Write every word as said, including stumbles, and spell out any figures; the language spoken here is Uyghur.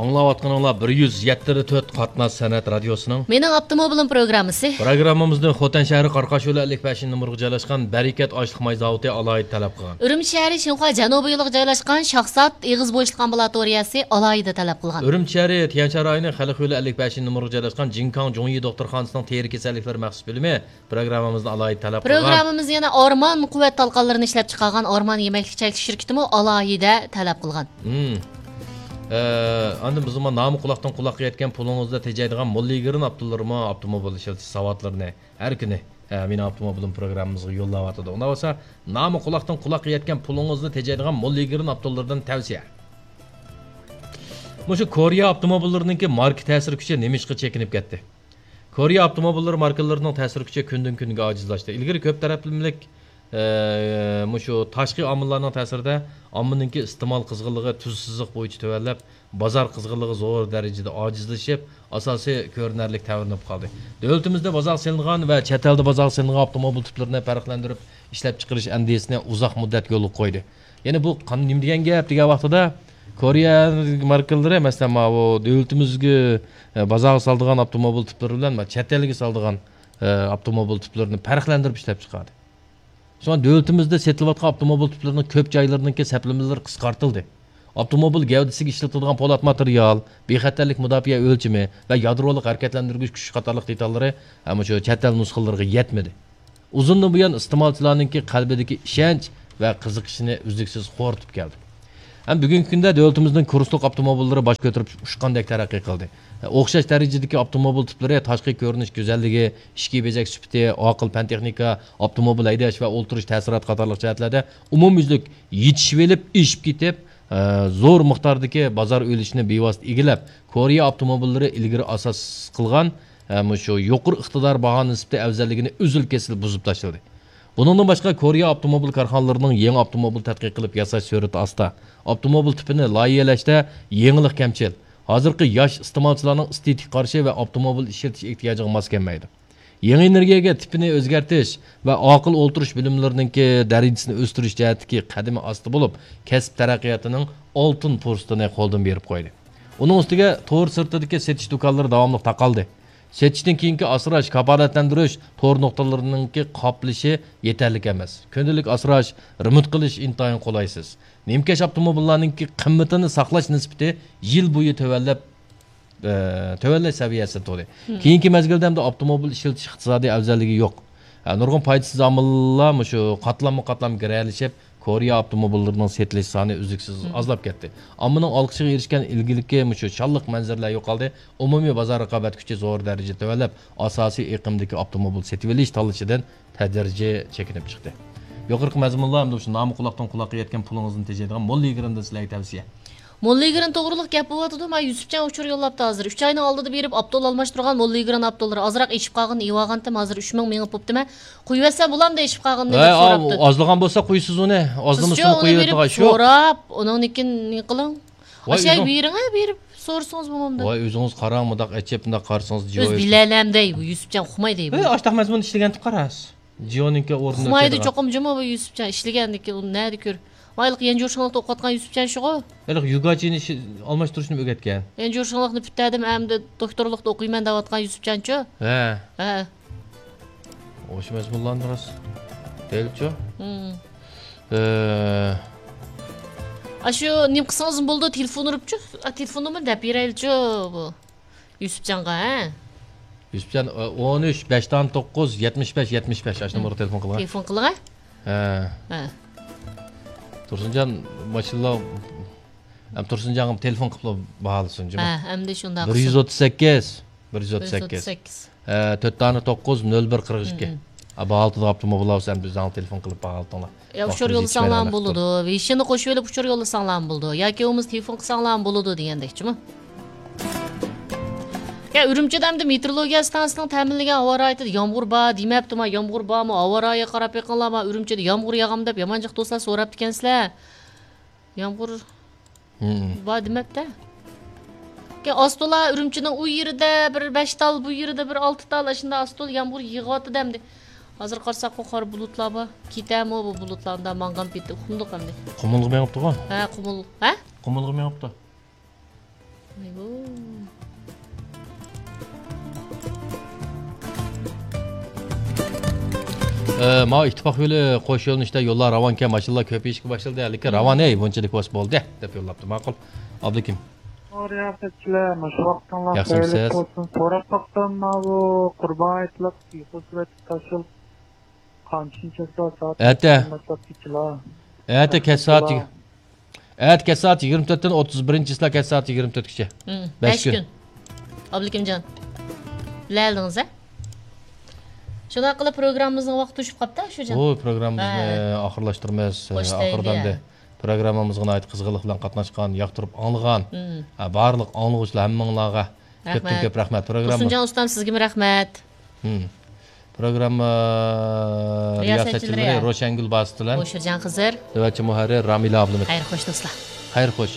ئاڭلاۋاتقىنىڭلار بىر يۈز يەتتە تۆت قاتناش سەنئەت رادىيوسىنىڭ مېنىڭ ئاپتوموبىلىم پروگراممىسى. پروگراممىمىزنى خوتەن شەھىرى قاراقاش يولى ئەللىك بەشىنچى نومۇرغا جايلاشقان بەرىكەت ئاشلىق ماي زاۋۇتى ئالاھىدە تەلەپ قىلغان. ئۈرۈمچى شەھىرى شىنخۇا جەنۇبىي يولىغا جايلاشقان شاخسات ئېغىز بوشلۇق ئامبۇلاتورىيەسى ئالاھىدە تەلەپ قىلغان. ئۈرۈمچى شەھىرى تيەنشان رايونى خەلق يولى ئەللىك بەشىنچى نومۇرغا جايلاشقان جىنكاڭ جۇڭيى دوختۇرخانىسىنىڭ تېرە كېسەللىكلىرى مەخسۇس بۆلۈمى پروگراممىمىزنى ئالاھىدە تەلەپ قىلغان. پروگراممىمىز يەنە ئارمان قۇۋۋەت تالقانلىرىنى ئىشلەپچىقارغان ئارمان يېمەكلىك چەكلىك شىركىتىمۇ ئالاھىدە تەلەپ قىلغان. مم. ئە، ئاندىن بىزمۇ نامى قۇلاقتىن قۇلاققا يەتكەن پۇلىڭىزدا تېجەيدىغان موللىگرىن ئاپتوللىرىمۇ ئاپتوموبىل ئىشلىتىش ساۋاتلىرىنى ھەر كۈنى، ئە، مېنىڭ ئاپتوموبىلىم پروگراممىمىزغا يوللاۋاتىدۇ. ئۇنداق بولسا، نامى قۇلاقتىن قۇلاققا يەتكەن پۇلىڭىزدا تېجەيدىغان موللىگرىن ئاپتوللىرىدىن تەۋسىيە. مۇشۇ كورېيە ئاپتوموبىللىرىنىڭكى ماركا تەسىر كۈچى نېمىشقا چېكىنىپ كەتتى؟ كورېيە ئاپتوموبىللىرى ماركىلىرىنىڭ تەسىر كۈچى كۈندىن كۈنگە ئاجىزلاشتى. ئىلگىرى كۆپ تەرەپلىمىلىك، ئە، مۇشۇ تاشقى ئامىللارنىڭ تەسىرىدە ئاممىنىڭكى ئىستېمال قىزغىنلىقى تۈز سىزىق بويىچە تۆۋەنلەپ، بازار قىزغىنلىقى زور دەرىجىدە ئاجىزلىشىپ، ئاساسىي كۆرۈنەرلىك تەۋرىنىپ قالدى. دۆلىتىمىزدە بازارغا سېلىنغان ۋە چەت ئەلدە بازارغا سېلىنغان ئاپتوموبىل تىپلىرىنى پەرقلەندۈرۈپ ئىشلەپچىقىرىش ئەندىزىسىنى ئۇزاق مۇددەت يولغا قويدى. يەنى بۇ قان-، نېمە دېگەن گەپ دېگەن ۋاقتىدا، كورېيە ماركىلىرى، مەسىلەن، ماۋۇ دۆلىتىمىزگە، ئە، بازارغا سالىدىغان ئاپتوموبىل تىپلىرى بىلەن، مانا، چەت ئەلگە سالىدىغان، ئە، ئاپتوموبىل تىپلىرىنى پەرقلەندۈرۈپ ئىشلەپچىقاردى. شۇڭا دۆلىتىمىزدە سېتىلىۋاتقان ئاپتوموبىل تىپلىرىنىڭ كۆپ جايلىرىنىڭكى سەپلىمىلىرى قىسقارتىلدى. ئاپتوموبىل گەۋدىسىگە ئىشلىتىلىدىغان پولات ماتېرىيال، بىخەتەرلىك مۇداپىئە ئۆلچىمى ۋە يادرولۇق ھەرىكەتلەندۈرگۈچ كۈچ قاتارلىق دېتاللىرى ھەم شۇ چەت ئەل نۇسخىلىرىغا يەتمىدى. ئۇزۇندىن بۇيان ئىستېمالچىلارنىڭكى قەلبىدىكى ئىشەنچ ۋە قىزىقىشىنى ئۈزلۈكسىز خورىتىپ كەلدى. ھەم بۈگۈنكى كۈندە دۆلىتىمىزنىڭ كۇرسلۇق ئاپتوموبىللىرى باش كۆتۈرۈپ ئۇچقاندەك تەرەققىي قىلدى. ئوخشاش دەرىجىدىكى ئاپتوموبىل تىپلىرى تاشقى كۆرۈنۈش گۈزەللىكى، ئىچكى بېزەك سۈپىتى، ئاقىل پەن تېخنىكا، ئاپتوموبىل ھەيدەش ۋە ئولتۇرۇش تەسىراتى قاتارلىق جەھەتلەردە ئومۇميۈزلۈك يېتىشىۋېلىپ ئېشىپ كېتىپ، ئە، زور مىقداردىكى بازار ئۈلۈشىنى بىۋاسىتە ئىگىلەپ، كورېيە ئاپتوموبىللىرى ئىلگىرى ئاساس قىلغان، ئە، مۇشۇ يۇقىرى ئىقتىدار باھا نىسبىتى ئەۋزەللىكىنى ئۈزۈل-كېسىل بۇزۇپ تاشلىدى. بۇنىڭدىن باشقا، كورېيە ئاپتوموبىل كارخانىلىرىنىڭ يېڭى ئاپتوموبىل تەتقىق قىلىپ ياساش سۈرئىتى ئاستا، ئاپتوموبىل تىپىنى لايىھەلەشتە يېڭىلىق كەمچىل، ھازىرقى ياش ئىستېمالچىلارنىڭ ئېستېتىكىغا قارشى ۋە ئاپتوموبىل ئىشلىتىش ئېھتىياجىغا ماس كەلمەيدۇ. يېڭى ئېنېرگىيەگە تىپىنى ئۆزگەرتىش ۋە ئاقىل ئولتۇرۇش بىلىملىرىنىڭكى دەرىجىسىنى ئۆستۈرۈش جەھەتتىكى قەدىمى ئاستا بولۇپ، كەسىپ تەرەققىياتىنىڭ ئالتۇن پۇرسىتىنى قولدىن بېرىپ قويدى. ئۇنىڭ ئۈستىگە تور سىرتىدىكى سېتىش دۇكانلىرى داۋاملىق تاقالدى. سېتىشتىن كېيىنكى ئاسراش، كاپالەتلەندۈرۈش تور نۇقتىلىرىنىڭكى قاپلىشى يېتەرلىك ئەمەس. كۈندىلىك ئاسراش، رېمونت قىلىش ئىنتايىن قولايسىز. نىمكەش ئاپتوموبىللارنىڭكى قىممىتىنى ساقلاش نىسبىتى يىل بويى تۆۋەنلەپ، ئە، تۆۋەنلەش سەۋىيەسىدە تۇردى. مم. كېيىنكى مەزگىلدە ھەمدە ئاپتوموبىل ئىشلىتىش ئىقتىسادىي ئەۋزەللىكى يوق. ئە، نۇرغۇن پايدىسىز ئامىللار مۇشۇ قاتلاممۇ قاتلام گىرەلىشىپ، كورېيە ئاپتوموبىللىرىنىڭ سېتىلىش سانى ئۈزلۈكسىز مم. ئازلاپ كەتتى. ئاممىنىڭ ئالقىشىغا ئېرىشكەن ئىلگىرىكى مۇشۇ شانلىق مەنزىرىلەر يوقالدى. ئومۇمىي بازار رىقابەت كۈچى زور دەرىجىدە تۆۋەنلەپ، ئاساسىي ئېقىمدىكى ئاپتوموبىل سېتىۋېلىش تاللىشىدىن تەدرىجىي چېكىنىپ چىقتى. يۇقىرىقى مەزمۇنلار ھەمدە شۇ نامى قۇلاقتىن قۇلاققا يەتكەن پۇلىڭىزنى تېجەيدىغان موللىگرىندىن سىلەرگە تەۋسىيە. موللىگرىن توغرىلىق گەپ بولۇۋاتىدۇ، مانا يۈسۈپجان ئۇچۇر يوللاپتۇ ھازىر. ئۈچ ئاينىڭ ئالدىدا بېرىپ ئاپتول ئالماشتۇرغان موللىگرىن ئاپتوللىرى ئازراق ئېشىپ قالغىنىنى ئېيۋاغانتىم، ھازىر ئۈچ مىڭ مېڭىپ بوپتىمەن. قويۇۋەتسەم بولامدۇ ئېشىپ قالغىنىنى دەپ ھە، سوراپتۇ. ئازلىغان بولسا قويىسىز ئۇنى. ئازلىمىسىمۇ قويۇۋېتىدىغان شۇ. سوراپ، ئۇنىڭدىن كېيىن نېمە قىلىڭ؟ ۋاي، ئاشۇ ئۆزۈڭ بېرىڭە، بېرىپ سورىسىڭىز بولمامدۇ؟ ۋاي، ئۆزىڭىز قاراڭ، مۇنداق ئېچىپ، مۇنداق قارىسىڭىز، جىيو ئۆزى بىلەلەمدەي، بۇ يۈسۈپجان ئۇقمايدۇ بۇ. ئاشتاق مەزمۇندا ئىشلىگەنتۇق قاراس. جىيونىڭكى ئورنىدا ئۇقمايدۇ ئۆتىدىغان. چوقۇم جۇمۇ بۇ يۈسۈپجان ئىشلىگەندىكى، ئۇ نەدە كۆر؟ ۋاي، ھېلىقى يەنجۇ شىڭلىقتا ئوقۇۋاتقان يۈسۈپجان شۇغۇ؟ ھېلىقى يۈگاچىنى ئىش-، ئالماشتۇرۇشنى ئۆگەتكەن. يەنجۇ شىڭلىقنى پۈتتۈردۈم، ئەمدى دوكتورلۇقتا ئوقۇيمەن دەۋاتقان يۈسۈپجانچۇ؟ ھە. ھە. ئوشۇ مەزمۇنلارنى راست دەيلىچۇ. مم. ئە، ئاشۇ نېمە قىلسىڭىزمۇ بولىدۇ، تېلېفون ئۇرۇپچۇ. ئا، تېلېفون نومۇرىنى دەپ بېرەيلىچۇ بۇ يۈسۈپجانغا، ھە؟ يۈسۈپجان، ئە، ئون ئۈچ، بەش دان توققۇز، يەتمىش بەش، يەتمىش بەش، ئاشۇ نومۇرغا تېلېفون قىلغان. تېلېفون قىلغان؟ ھە. ھە. تۇرسۇنجان، ماشىنىلا، ئەم، تۇرسۇنجانغا تېلېفون قىلىپلا باھالىسۇن، جۇمۇ. ھە، ئەمدى شۇنداق بىر يۈز ئوتتۇز سەككىز. بىر يۈز ئوتتۇز سەككىز. بىر يۈز ئوتتۇز سەككىز. ئە، تۆت دانە توققۇز، نۆل بىر، قىرىق ئىككى. مم. ئا، باھالىتىدىغان ئاپتوموبىل بولسا، ئەمدى ئۆزۈڭلار تېلېفون قىلىپ باھالىتىڭلار. يا ئۇچۇر يوللىساڭلارمۇ بولىدۇ. ۋېيشىننى قوشۇۋېلىپ ئۇچۇر يوللىساڭلارمۇ بولىدۇ. ياكى بولمىسا تېلېفون قىلساڭلارمۇ بولىدۇ دېگەندەكچىمۇ. يا ئۈرۈمچىدە ئەمدى مېتېئورولوگىيە ئىستانسىسىنىڭ تەمىنلىگەن ھاۋا رايىتىدا يامغۇر بار دېمەپتىما؟ يامغۇر بارمۇ؟ ھاۋا رايىغا قاراپ بېقىڭلار، ما ئۈرۈمچىدە يامغۇر ياغامدۇ دەپ يامان جىق دوستلار سوراپتىكەنسىلەر. يامغۇر مم. بار دېمەپتە. كەي ئاستولا ئۈرۈمچىنىڭ ئۇ يېرىدە بىر بەش تال، بۇ يېرىدە بىر ئالتە تال، ئاشۇنداق ئاستول يامغۇر يېغىۋاتىدۇ ئەمدى. ھازىر قارىساقمۇ قارا بۇلۇتلار بار. كېتەمۇ بۇ بۇلۇتلار، ئۇنداق ماڭغان پېتى ئۇقمىدۇق ئەمدى. قۇمۇلغا مېڭىپتىغۇ؟ ھە، قۇمۇل. ھە؟ قۇمۇلغا مېڭىپتۇ. ئە، ماۋۇ ئىتتىپاق يولى قوش يۆنىلىشتە يوللار راۋانكەن، ماشىنىلار كۆپىيىشكە باشلىدى، لېكىن راۋان، ھەي، بۇنچىلىك بولسا بولدى، دەپ يوللاپتۇ. ماقۇل. ئابلىكىم. رىياسەتچىلەر، مۇشۇ ۋاقتىڭلار خەيرلىك بولسۇن. سوراپ باقسام، ماۋۇ قۇربان ھېيتلىق تۇيۇقسىز سۈرەتتە تاشلىنىپ قانچىنچى چىسلا سائەت ئەتە. ئەتە كەچ سائەت يىگىرمە تۆتتىن ئوتتۇز بىرىنچى چىسلا كەچ سائەت يىگىرمە تۆتكىچە. مم، بەش بەش كۈن. كۈن. ئابلىكىمجان، بىلەلىدىڭىز ھە؟ شۇنداق قىلىپ پروگراممىمىزنىڭ ۋاقتى توشۇپ قاپتۇ شۇ جان. بۇ پروگراممىمىزنى ھە. ئاخىرلاشتۇرىمىز. خوش ئاخىردا دەيلى. ئەمدى پروگراممىمىزغا ناھايىتى قىزغىنلىق بىلەن قاتناشقان، ياقتۇرۇپ ئاڭلىغان، مم. ھە، بارلىق ئاڭلىغۇچىلار ھەممىڭلارغا كۆپتىن كۆپ رەھمەت. پروگرامما. تۇرسۇنجان ئۇستام، سىزگىمۇ رەھمەت. مم. پروگرامما رىياسەتچىلىرى رىياسەتچىلىرى روشەنگۈل باسىت بىلەن بوشىرجان خىزىر. نۆۋەتچى مۇھەررىر رامىلە ئابلىمىت. خەير خوش دوستلار. خەير خوش.